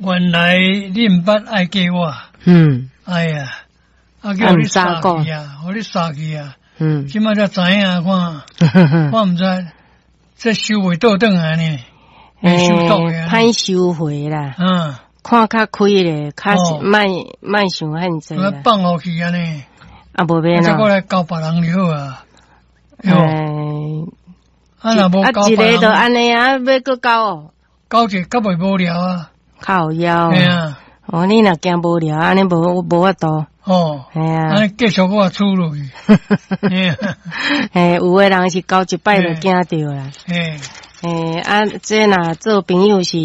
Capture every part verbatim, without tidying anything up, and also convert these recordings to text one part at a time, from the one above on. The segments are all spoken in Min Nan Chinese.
原來你毋捌愛過我，嗯。哎呀，啊叫你殺去啊，予你殺去啊，嗯，這擺才知影看，我毋知這收袂倒轉來呢，袂收倒的。歹收回啦，嗯，看較開咧，較莫莫想遐濟啦。放予去按呢，啊無免再過來交別人就好啊。欸，啊若無交一个就按呢啊，欲閣交哦？交一個較袂無聊啊。靠腰。嘿啊。哦，你若驚無聊，按呢無無法度。哦。嘿啊。按呢繼續我處落去。嘿，有的人是交一擺就驚著啦。嘿。欸，啊，這若做朋友是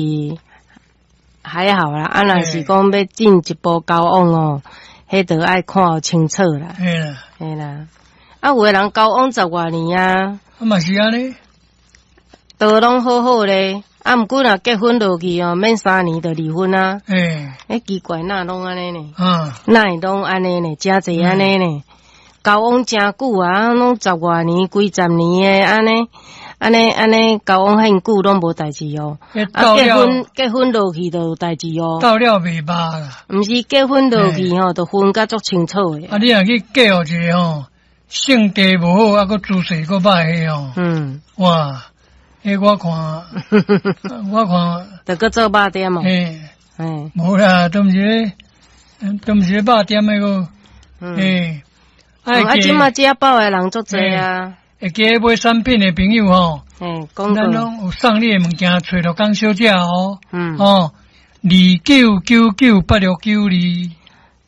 還好啦，啊，若是講欲進一步交往哦，彼就愛看清楚啦。嘿啦。嘿啦。啊，有的人交往十外年啊，啊嘛是按呢，都攏好好咧。啊，毋過若結婚落去哦，免三年就離婚啊。欸，欸，奇怪，哪攏按呢呢？啊，哪會攏按呢呢？誠濟按呢呢？交往誠久啊，攏十外年、幾十年的按呢，按呢按呢交往遐久攏無代志哦。啊，結婚結婚落去就有代志哦。到了袂捌啦。毋是結婚落去吼，就分甲足清楚的。啊，你若去嫁予一个吼，性格無好，啊，閣姿勢閣歹的吼。嗯。哇！彼我看，我看，就閣做肉店哦。嘿，嘿，無啦，都毋是，都毋是肉店的個。嘿，啊，這馬食飽的人足濟啊。會記得買產品的朋友吼，嘿，咱攏有送你的物件，揣陸江小姐哦。嗯。哦，二九九九八六九二。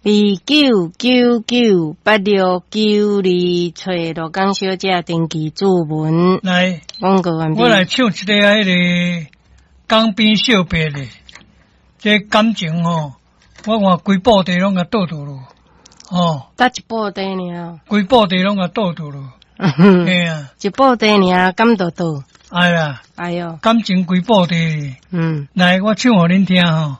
二九九九八六九二，揣陸江小姐登記注文。來，廣告完畢。我來唱一个彼个江邊小白的，這感情吼，我看規布袋攏共倒倒囉，哦。得一布袋爾。規布袋攏共倒倒囉。嘿啊。一布袋爾，敢倒倒？哎呀。哎喲。感情規布袋。嗯。來，我唱予恁聽吼。